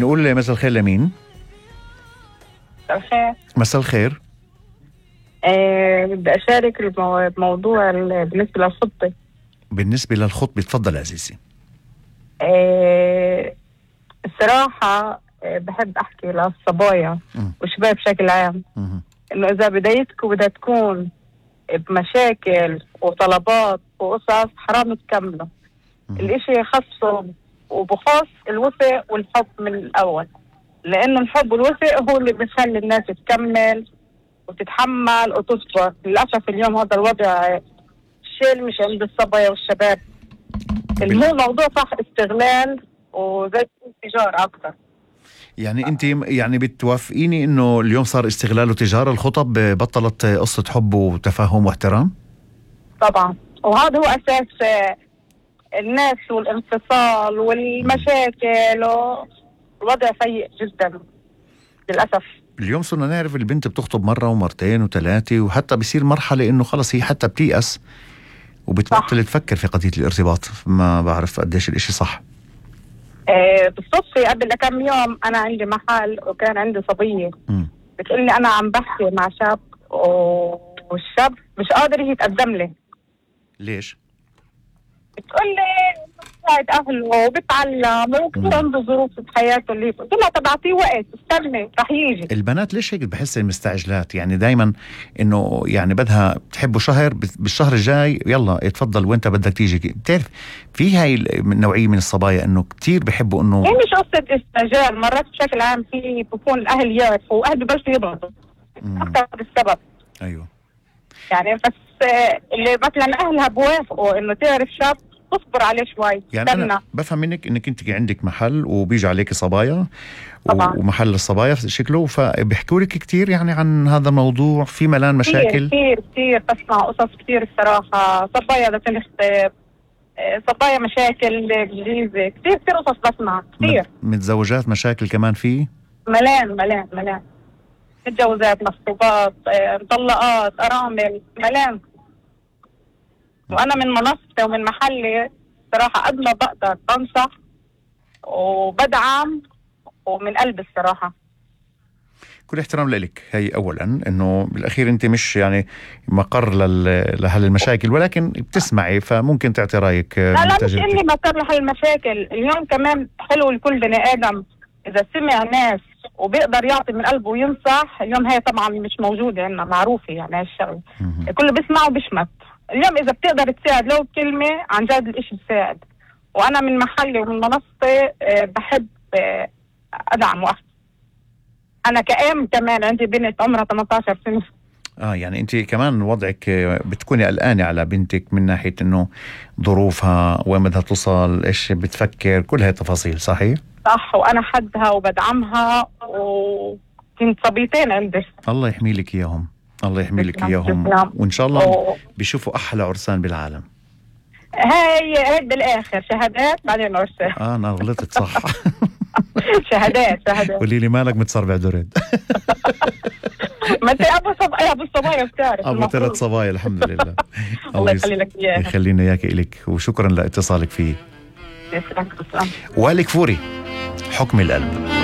نقول مساء الخير لمين؟ الخير. مساء الخير. بدي أشارك بموضوع بالنسبة للخطة. بالنسبة للخطبة تفضل عزيزي. الصراحة بحب أحكي للصبايا والشباب بشكل عام إنه إذا بدايتكم بدها تكون بمشاكل وطلبات وقصص حرام تكملوا. الإشي خصه وبخص الوفاء والحب من الأول، لأنه الحب والوفاء هو اللي بيخلي الناس تكمل وتتحمل وتصبر. للأسف اليوم هذا الوضع الشيء مش عند الصبايا والشباب. الموضوع صح استغلال وزي تجارة أكثر. يعني أنت يعني بتوافقيني إنه اليوم صار استغلال وتجارة؟ الخطب بطلت قصة حب وتفاهم واحترام؟ طبعا، وهذا هو أساس الناس والانفصال والمشاكل والوضع سيء جدا للأسف. اليوم صرنا نعرف البنت بتخطب مرة ومرتين وثلاثة، وحتى بيصير مرحلة إنه خلص هي حتى بتيأس وبتبطل تفكر في قضية الارتباط. ما بعرف قديش الاشي صح. بالصدفة قبل كم يوم أنا عندي محل وكان عندي صبية بتقولي أنا عم بحكي مع شاب والشاب مش قادر يتقدم لي. ليش؟ بتقولي بتساعد أهله وبتعلم وكثير عنده ظروف في حياته اللي قلت لها طب أعطيه وقت استني رح يجي. البنات ليش هيك بحس المستعجلات؟ يعني دايما إنه يعني بدها بتحبه شهر، بالشهر الجاي يلا اتفضل وانت بدك تيجي. بتعرف في هاي النوعية من الصبايا إنه كتير بحبوا إنه هي مش قصة استعجال، مرات بشكل عام في بكون الأهل يعرفوا وأهل ببلشوا يضغطوا أكثر بالسبب. أيوه يعني بس اللي مثلا أهلها بوافقوا إنه تعرف شاب تصبر عليه شوي. يعني أنا بفهم منك إنك أنت عندك محل وبيجي عليك صبايا ومحل الصبايا شكله، فبيحكوا لك كتير يعني عن هذا الموضوع. في ملان مشاكل كتير بسمع قصص كتير الصراحة. صبايا بدها تخطب، صبايا مشاكل بالجيزة، كتير قصص بسمع كتير. متزوجات مشاكل كمان فيه ملان متجوزات مخطوبات مطلقات أرامل ملان. وأنا من منصتي ومن محلي صراحة قد ما بقدر بنصح وبدعم ومن قلب الصراحة. كل احترام لك. هي أولا إنه بالأخير أنت مش يعني مقر لهل المشاكل، ولكن بتسمعي فممكن تعطي رأيك. لا مش إني مقر لهل المشاكل. اليوم كمان حلو لكل بني آدم إذا سمع ناس وبيقدر يعطي من قلبه وينصح. اليوم هي طبعا مش موجودة عندنا معروفة يعني هالشغل كله بيسمع وبيشمت. اليوم إذا بتقدر تساعد لو كلمة عن جد الإشي بساعد. وأنا من محلي ومن منصتي بحب أدعم وقت. أنا كأم كمان عندي بنت عمرها 18 سنة. يعني أنت كمان وضعك بتكوني قلقانة على بنتك من ناحية إنه ظروفها وين بدها توصل، إيش بتفكر، كل هاي التفاصيل. صحيح؟ صح، وأنا حدها وبدعمها وكنت صبيتين عندي. الله يحمي لك إياهم. الله يحمي لك إياهم وإن شاء الله بيشوفوا أحلى عرسان بالعالم. هاي بالآخر شهادات بعدين عرسان. أنا غلطت صح. شهادات. قولي لي مالك متصربع درد. ما انت ابو الصبايا بتعرف. ابو 3 صبايا الحمد لله. الله يخلي لك اياها. يخلينا اياك الك وشكرا لاتصالك فيه. يسلمك. وائل كفوري، حكم القلب.